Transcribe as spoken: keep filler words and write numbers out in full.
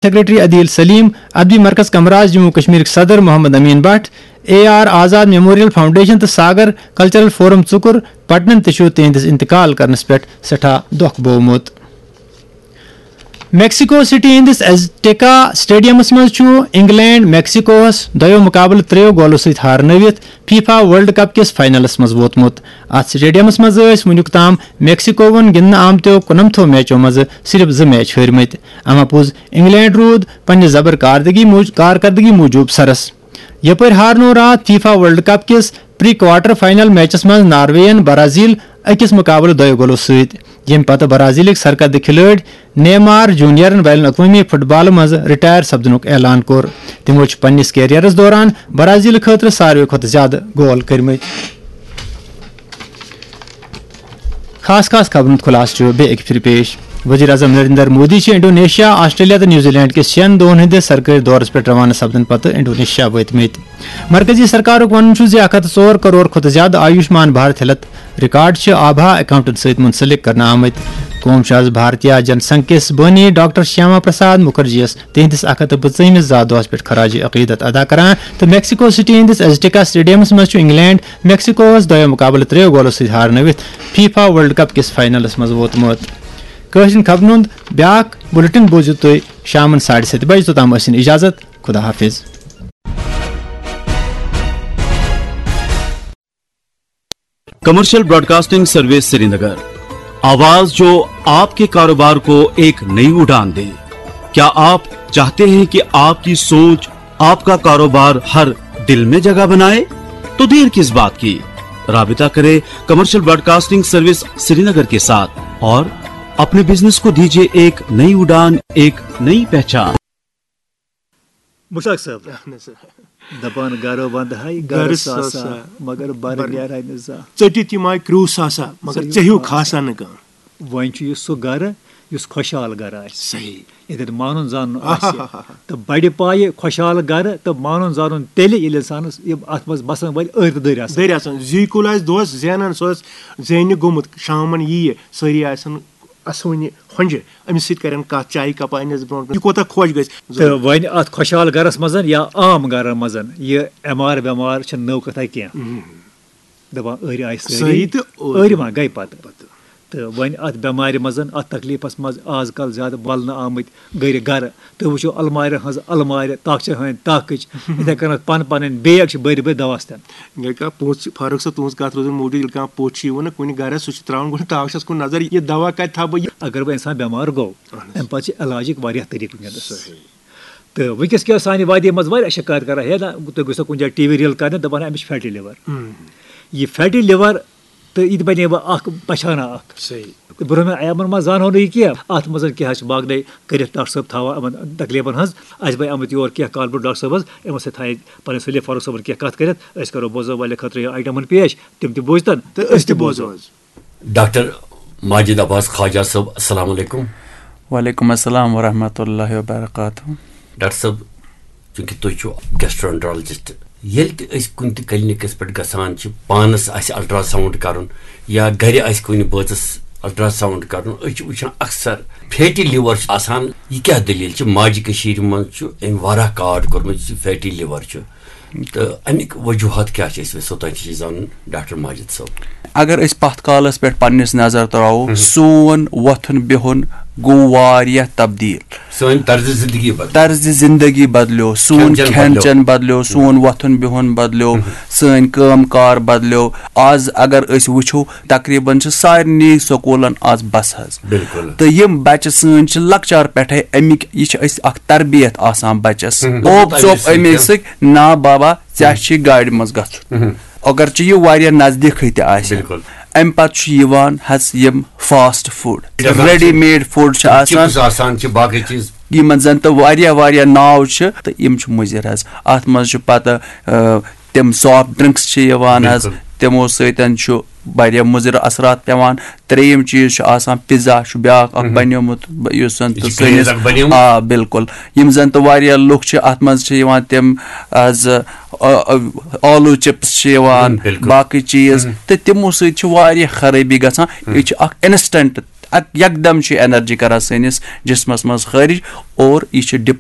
Secretary عدیل سلیم، ادبی مرکز کمراز جموں کشمیرٕکۍ صدر Mohammad Amin Bhat, A R Azad memorial foundation تہٕ ساگر کلچرل فورم ژُکُر پٹنن تہِ چھُ تِہنٛدِس انتقال کرنس پٮ۪ٹھ سٮ۪ٹھاہ دۄکھ بوومُت۔ میکسیکو سٹی ہٕنٛدِس ایزٹیکا سٹیڈیمس منٛز چھُ انگلینڈ میکسیکوہس دۄیو مقابلہٕ ترٛیٚیو گولو سۭتۍ ہارنٲوِتھ فیفا ورلڈ کپ کِس فاینلس منٛز ووتمُت۔ اتھ سٹیڈیمس منٛز ٲسۍ وُنیُک تام میکسیکووَن گِنٛدنہٕ آمتیو کُنمتھو میچو منٛزٕ صرف زٕ میچ ہٲرمٕتۍ۔ اما پوٚز، انگلینڈ روٗد پننہِ زبر کاردگی موٗج-، کارکردگی موٗجوٗب سرس۔ یپٲرۍ ہارنوو راتھ فیفا ورلڈ کپ کِس پری کوارٹر فائنل میچس منٛز ناروے یَن برازیل أکِس مقابلہٕ دۄیو گولو سۭتۍ، ییٚمہِ پتہٕ برازیلٕکۍ سرکردٕ کھلٲڑۍ نیمار جونیئرن بین الاقوٲمی فٹ بالہٕ منٛز رٹائر سپدنُک اعلان کوٚر۔ تِمو چھُ پننِس کیریئرس دوران برازیل خٲطرٕ ساروی کھۄتہٕ زیادٕ گول کٔرمٕتۍ۔ خاص خاص خبرن ہُنٛد خلاصہٕ چھُ بیٚیہِ اَکہِ پھِرِ پیش۔ وزیر اعظم نریندر مودی چھِ انڈونیشیا، آسٹریلیا تہٕ نیوزی لینڈ کِس شٮ۪ن دۄہن ہٕنٛدِس سرکٲرۍ دورس پٮ۪ٹھ روانہٕ سپدنہٕ پتہٕ انڈونیشیا وٲتمٕتۍ۔ مرکزی سرکارُک وَنُن چھُ زِ اکھ ہتھ ژور کرور کھۄتہٕ زیادٕ آیوشمان بھارت ہیلتھ ریکارڈ چھِ آبھا اکاؤنٹن سۭتۍ منسلک کرنہٕ آمٕتۍ۔ قوم چھُ از بھارتیہ جن سنگھ کِس بٲنی ڈاکٹر شیاما پرساد مکھرجی یَس تِہنٛدِس اکھ ہتھ تہٕ پٕنٛژٕہمِس زا دۄہس پٮ۪ٹھ خراج عقیدت ادا کران تہٕ میکسیکو سٹی ہٕنٛدِس ایزٹیکا سٹیڈیمس منٛز چھُ انگلینڈ میکسیکوہس دۄیو مقابلہٕ ترٛیٚیو گولو سۭتۍ ہارنٲوِتھ فیفا ورلڈ کپ کِس فاینلس منٛز ووتمُت۔ کٲشرٮ۪ن خبرن ہُنٛد بیٛاکھ بلیٹن بوٗزِو تُہۍ شامن ساڑِ ستہِ بجہِ۔ توٚتام ٲسِن اجازت۔ خدا حافظ۔ کمرشل براڈکاسٹنگ سروس سرینگر، آواز جو آپ کے کاروبار کو ایک نئی اڑان دے۔ کیا آپ چاہتے ہیں کہ آپ کی سوچ، آپ کا کاروبار ہر دل میں جگہ بنائے؟ تو دیر کس بات کی؟ رابطہ کرے کمرشل براڈکاسٹنگ سروس سرینگر کے ساتھ اور اپنے بزنس کو دیجیے ایک نئی اڑان، ایک نئی پہچان۔ مشتاق صٲب، دپان گرو بندہے گرٕ ساسا، مگر بر نیرہے نہٕ زانٛہہ۔ ژٔٹِتھ یِم آیہِ کرٛوٗ ساسا، مگر ژےٚ ہیوٗ کھاسا نہٕ کانٛہہ۔ وۄنۍ چھُ یہِ سُہ گرٕ یُس خۄشحال گرٕ آسہِ۔ صحیح۔ ییٚتٮ۪تھ مانُن زانُن آسہِ۔ تہٕ بڑِ پایہِ خۄشحال گرٕ تہٕ مانُن زانُن تیٚلہِ ییٚلہِ انسانس یِم اتھ منٛز بسن وٲلۍ أرۍ تہٕ دٔرۍ آسن۔ دٔرۍ آسن۔ زی کُل آسہِ دۄہس زینان، سُہ آسہِ زینہِ گوٚمُت، شامن ییہِ، سٲری آسن اسوٕنہِ ہۄنجہِ، أمِس سۭتۍ کرن کتھ، چایہِ کپا انٮ۪س برونٛٹھ کُن۔ یہِ کوٗتاہ خۄش گژھِ۔ تہٕ وۄنۍ اتھ خۄشحال گرس منٛز یا عام گرن منٛز یہِ ایم آر ویم آر چھِ نٔو کتھا کینٛہہ۔ دپان أرۍ آیہِ سٲری۔ سٲری تہٕ أرۍ۔ أرۍ ما گٔے پتہٕ۔ تہٕ وۄنۍ اتھ بٮ۪مارِ منٛز، اتھ تکلیفس منٛز آز کل زیادٕ ولنہٕ آمٕتۍ گرِ گرٕ۔ تُہۍ وٕچھِو المارٮ۪ن ہٕنٛز المارِ، تاکچن ہٕنٛدۍ تاکٕچ۔ یِتھے کٔنۍ پنہٕ پنٕنۍ بیگ چھِ بٔرۍ بٔرۍ دوا ستٮ۪ن۔ ییٚلہِ کانٛہہ پوٚژھ چھُ، فاروق صٲب، تُہٕنٛز کتھ روزِ موٗجوٗد، ییٚلہِ کانٛہہ پوٚژھ چھُ یِوان نا کُنہِ گرس، سُہ چھُ ترٛاوان گۄڈٕ تاکچس کُن نظر، یہِ دوا کتہِ تھاوٕ بہٕ یہِ؟ اگر وۄنۍ انسان بٮ۪مار گوٚو، امہِ پتہٕ چھِ علاجٕکۍ واریاہ طریٖقہٕ وٕنکیٚنس۔ تہٕ وٕنکیٚس کیٛاہ سانہِ وادی منٛز واریاہ شکایت کران، ہے نہ، تُہۍ گٔژھِو کُنہِ جایہِ ٹی وی ریل کرنہِ، دپان أمِس چھُ فیٹی لِور۔ یہِ فیٹی لِور، تہٕ یہِ تہِ بنے وۄنۍ اکھ پہچانہ اکھ۔ صحیح۔ تہٕ برونٛہمٮ۪ن ایامن منٛز زانہو نہٕ یہِ کینٛہہ، اتھ منٛز کیٛاہ چھِ باقٕے کٔرِتھ ڈاکٹر صٲب تھاوان یِمن تکلیفن ہٕنٛز۔ اسہِ بنے آمٕتۍ یور کینٛہہ کالہٕ برونٛہہ ڈاکٹر صٲبس، یِمن سۭتۍ تھایہِ پنٕنۍ سلیٖم فاروق صٲبن کینٛہہ کتھ کٔرِتھ۔ أسۍ کرو بوزن والٮ۪ن خٲطرٕ یہِ آیٹمن پیش، تِم تہِ بوزتن تہٕ أسۍ تہِ بوزو۔ ڈاکٹر ماجد عباس خواجہ صٲب، السلام علیکم۔ وعلیکم السلام ورحمۃ اللہ وبرکاتہ۔ ڈاکٹر صٲب، چونکہ تُہۍ چھِو گیسٹرونٹرالجسٹ، ییٚلہِ تہِ أسۍ کُنہِ تہِ کلینکس پٮ۪ٹھ گژھان چھِ، پانس آسہِ الٹرا ساؤنڈ کرُن یا گرِ آسہِ کُنہِ بٲژس الٹرا ساؤنڈ کرُن، أسۍ چھِ وٕچھان اکثر فیٹی لِور چھُ آسان۔ یہِ کیٛاہ دٔلیٖل چھِ؟ ماجہِ کٔشیٖرِ منٛز چھُ أمۍ واریاہ کارڈ کوٚرمُت، یُس یہِ فیٹی لِور چھُ۔ تہٕ اَمِکۍ وجوٗہات کیٛاہ چھِ، أسۍ یژھو تۄہہِ نِش زانُن، ڈاکٹر ماجد صٲب۔ اگر أسۍ پتھ کالس پٮ۪ٹھ پننِس نظر تراوو، سون وۄتھُن بِہُن گوٚو واریاہ تبدیٖل۔ سٲنۍ طرزِ زندگی بدلیو۔ طرزِ زندگی بدلیو، سون کھٮ۪ن چٮ۪ن بدلیو، سون وۄتھُن بِہُن بدلیو، سٲنۍ کٲم کار بدلیو۔ آز اگر أسۍ وٕچھو، تقریباً چھِ سارنٕے سکوٗلن آز بس حظ۔ بِلکُل۔ تہٕ یِم بچہٕ سٲنۍ چھِ لۄکچار پٮ۪ٹھے اَمِکۍ، یہِ چھِ أسۍ اکھ تربیت آسان بچس۔ اوپ ژوپ اَمے سۭتۍ، نا بابا، ژےٚ چھِ گاڑِ منٛز گژھُن۔ اگر چہِ یہِ واریاہ نزدیٖکھٕے تہِ آسہِ۔ بِلکُل۔ اَمہِ پتہٕ چھُ یِوان حظ یِم fast food, ready made food چھِ آسان۔ چپس آسان چھِ، باقٕے چیٖز۔ یِمن زن تہٕ واریاہ واریاہ ناو چھِ تہٕ یِم چھِ مُضِر حظ۔ اتھ منٛز چھُ پتہٕ، آ، تِم سافٹ ڈرنکس چھِ یِوان حظ، بِلکُل۔ تِمو سۭتۍ چھُ واریاہ مُضِر اثرات پٮ۪وان۔ ترٛیٚیِم چیٖز چھُ آسان، پِزا چھُ بیٛاکھ اکھ بنیومُت، ب-، یُس زن تہٕ یہِ چھُ سٲنِس، craze اکھ بنیومُت۔ آ، بِلکُل۔ یِم زن تہٕ واریاہ لُکھ چھِ، اتھ منٛز چھِ یِوان تِم، آ، زٕ، آ، آ، آلوٗ چپس چھِ یِوان، بِلکُل۔ باقٕے چیٖز، تہٕ تِمو سۭتۍ چھِ واریاہ خرٲبی گژھان۔ یہِ چھُ اکھ انسٹنٹ اک-، یکدم چھِ انرجی کران سٲنِس جسمس منٛز خٲرج، اور یہِ چھِ